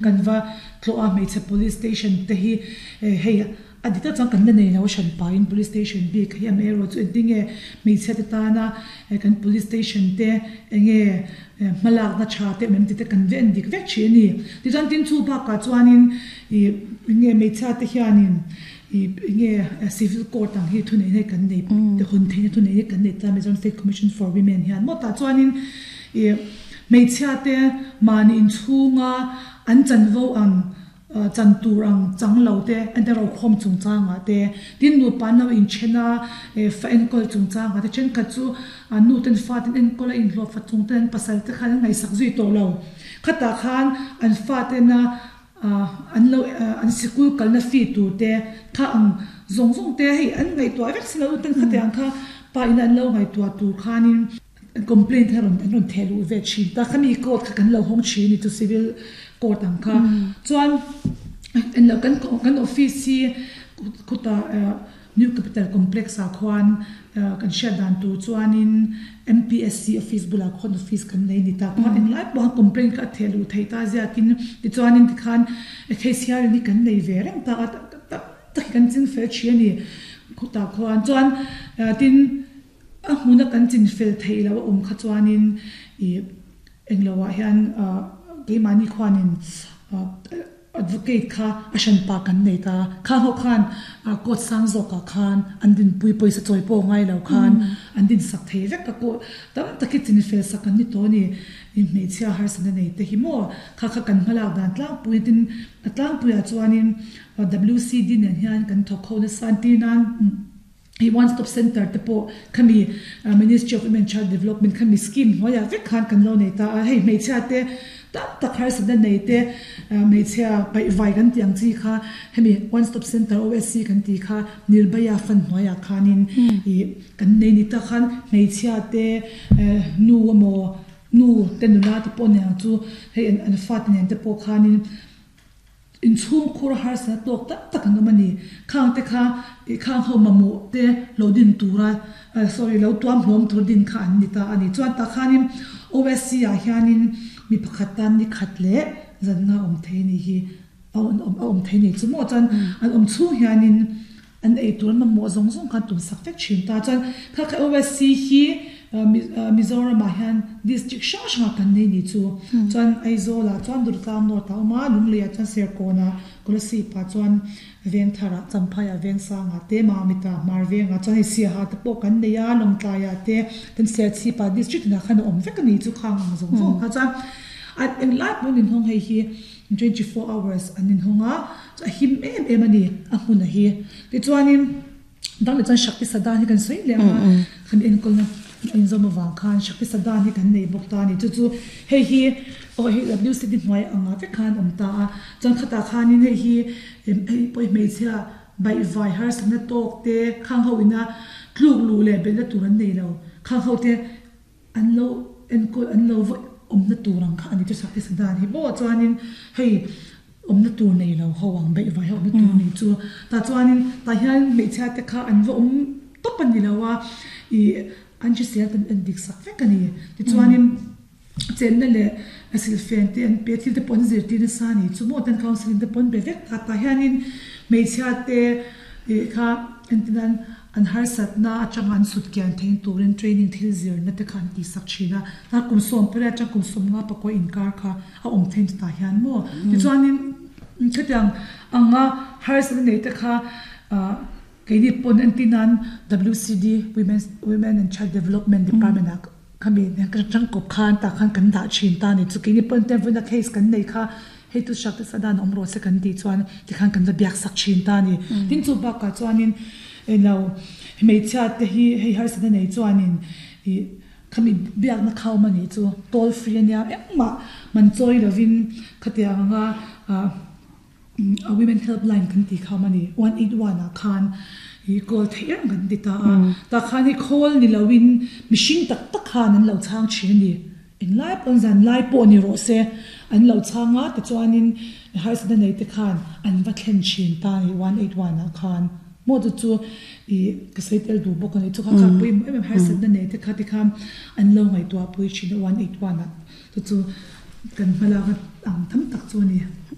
Kan va tlawh a hmeichhe police station te hi hei a dik tak chuan kan la nei lo a hran pahin police station bik hi amaherawh chu engtinge hmeichhia te tana kan police station te enge hmalakna tha te awm em tih te kan va en dik vek thin a ni. Tichuan tin chu bakah chuanin ih enge hmeichhia te hianin ih enge civil court ang hi thuneihna hi kan nei hawn theihna thuneihna hi kan nei ta Mizoram State Commission for Women hian maw tah chuanin ih Hmeichhia te mahni inchhunga an chanvo ang chan tur ang chang lo te an te rokhawm chungchangah te, tin nupa an lo inthen a fa enkawl chungchangah te thenkhat chu an nu ten fa ten enkawl a inhlawh fa chung ten an pasal te khan an ngaihsak zui tawh lo. Khatah khan an fa tena an lo an sikul kalna fee tur te kha ang zawng zawng te hei an ngaihtuah vek si lo nu ten khatiang kha pa ina an lo ngaihtuah tur khanin Complaint kha rawn an rawn theh luh ve thin ta khami court kha kan lo hawng thin a ni chu civil court ang kha chuan englo kan kan office hi khutah new capital complex ah khuan kan hriat dan tur chuanin M_P_S_C office bulah khuan office kan nei a ni ta khuan englai pawh khan complaint kha a theh luh theih ta ziakin tichuanin tikhan case hiarin hi kan nei ve reng ta a tam tak hi kan ching fel thin a ni khutah khuan chuan tin. A hmuna kan chin fel theih loh a awm kha chuanin ih englo ah hian ah keimahni khuanin ah advocate kha a hranpa kan nei ta. Kha ho khan ah court sang zawkah khan an dinpui pawisa chawi pawh ngai lo khan an dinsak thei vek a court tam tak hi chin fel sak an ni tawh a ni. Ih hmeichhia harsatna nei te hi maw kha kha kan hmalak dan tlangpui tin a tlangpuiah chuanin WCD nen hian kan thawk ho nasa an tir nan. Hei one stop centre te pawh khami Ministry of Women Child Development khami scheme hnuaiah vek khan kan lo nei ta a, hei hmeichhia te tam tak harsatna nei te hmeichhia paihvai kan tih ang chi kha hemi one stop centre OSC kan tih kha Nirbhaya fund hnuaiah khanin ih kan nei ni ta khan hmeichhia te nu emaw nu te nula te pawh nen ang chu hei an fate nen te pawh khanin Inchhungkhur harsatna tawk tak tak an awm a ni. Khang te kha ih khang ho mamawh te lo din tura sorry lo tuam hlawm tur din kha an ni ta a ni. Chuan tah khanin OSC ah hianin mi pakhat tan ni khat leh zanna awm thei a nih hi a awm thei a ni. Chu maw chuan an awm chhung hianin An ei tur mamawh zawng zawng khan tum sak vek thin ta. Chuan kha kha OSC hi Mizoramah hian district hrang hrangah kan nei ni chu. Chuan Aizawlah chuan Durtlang North ah a awm a, Lungleiah chuan Serkawnah, Kolasipah chuan Vengtharah, Champhaiah, Vengsangah te, Mamitah, Hmarvengah chuan hei Siaha te pawh kan nei a, Lawngtlaiah te, tin Serchhipah district inah khan a awm vek a ni chu khang ang zawng zawng kha. Chuan englai pawhin inhawng hei hi 24 hours an inhawng a. A him em em a ni a hmun a hi. Tichuanin dang leh chuan Shakti Sadan hi kan sawi leh ang a, kan enkawlna a inzawm avang khan Shakti Sadan hi kan nei bawk ta a ni. Chu chu hei hi aw hei WCD hnuai angah vek khan a awm ta a, chuan khatah khanin hei hi hei pawh hi hmeichhia baihvai harsatna tawk te khang ho ina tluk luh leh belhna tur an nei lo, khang ho te An lo enkawl an lo va awmna tur ang kha a ni chu Shakti Sadan hi maw chuanin hei awmna tur nei lo ho ang beih vai ho awmna tur nei chu tah chuanin tah hian hmeichhia te kha an va awm tawp a ni lo a ih an hrisel kan en dik sak vek a ni tichuanin chenna leh silhfen te an pe thil te pawh an zirtir nasa a ni chu maw ten counselling te pawh an be vek ta tah hianin hmeichhia te ih kha entirnan An harsatna atanga an sut kian theih turin training thil zirna te kha an tihsak thin a, tar kum 18 atang kum 15 pakua inkar kha a awm theih chutah hian maw? Tichuanin khatiang anga harsatna nei te kha keini pawn entir nan WCD, Women's Women and Child Development Department ah khami tangkawp khan tah khan kan dah thin ta a ni chu. Keini pawn vawiina case kan nei kha hei chu Shakti Sadan awm rawh se kan tih chuan tikhan kan va biak sak thin ta a ni. Tin chu bakah chuanin Eng lo, hmeichhia te hi hei harsatna nei chuanin ih khami biakna kha awm a nih chu toll free a nia engmah man chawi lovin khatiang anga ah a women helpline kan tih kha awm a ni 181 ah khan ih call theih reng kan ti ta a tah khan hei call ni lovin mihring tak tak khan an lo chhang thin a ni. Englai pawn zan lai pawh ni rawh se, an lo chhang a, tichuanin harsatna nei te khan an va thlen thin ta a ni, 181 ah khan maw chu chu ih ka sawi tel duh bawk a ni, chu kha kha pawimawh em em harsatna nei te kha tikhan an lo ngaihtuah pui thin a 181 ah chu chu. kan hmalak ang tam tak chu a ni.